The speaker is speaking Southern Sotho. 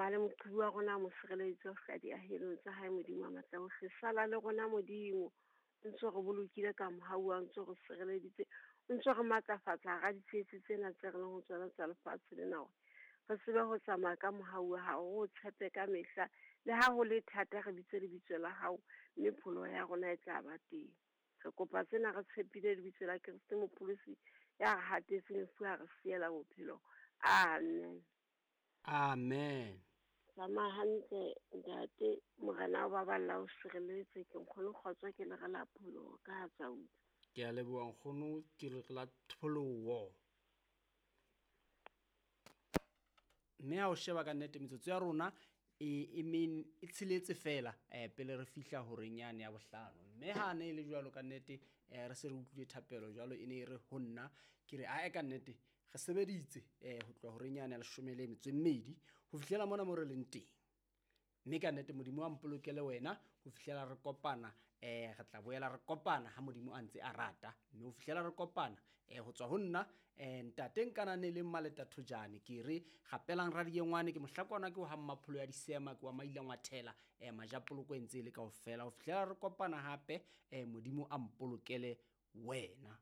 Tsamaya le moqhubi wa rona, mo sireleditse ho fihla diahelong tsa hae, Modimo wa matla ohle. Sala le rona Modimo, o ntso re bolokile ka mohau wa, o ntso re sireleditse, o ntso re matlafatsa hara ditsietsi tsena tse re leng ho tsona tsa lefatshe lena, hore re tsebe ho tsamaya ka mohau wa hao, re o tshepe ka mehla. Le ha ho le thata, re bitse lebitso la hao, mme pholoho ya rona e tla ba teng. Re kopa tsena re tshepile lebitso la Kreste Mopholosi ya re hatetseng lefu, a re siela bophelo. Amen. Amen. Tsamaya hantle ntate, Morena o baballa o sireletse. Ke nkgono kgotso, ke le re la pholoho ka ha tsa utlwa. Ke a leboha nkgono, ke re la pholoho. Mme ha o sheba ka nnete metsotso ya rona e e tsheletse fela pele re fihla horeng yane ya bohlano. Mme ha ne e le jwalo ka nnete, re se re utlwile thapelo jwalo, e ne e re ho nna ke re ae ka nnete re sebeditse ho tloha horeng yane ya 12 ho fihlela mona mo re leng teng. Mme ka nnete Modimo a mpolokele wena ho fihlela re kopana, re tla boela re kopana ha Modimo a ntse a rata. Mme ho fihlela re kopana, ho tswa ho nna, ntate Nkanane le Mmaleta Thojane, ke re gapelang radiengwane, ke mohlakwana ke o ha mmapholo ya disema, ke wa maila ngwathela, majapoloko e ntse e le kaofela. Ho fihlela re kopana hape, Modimo a mpolokele wena.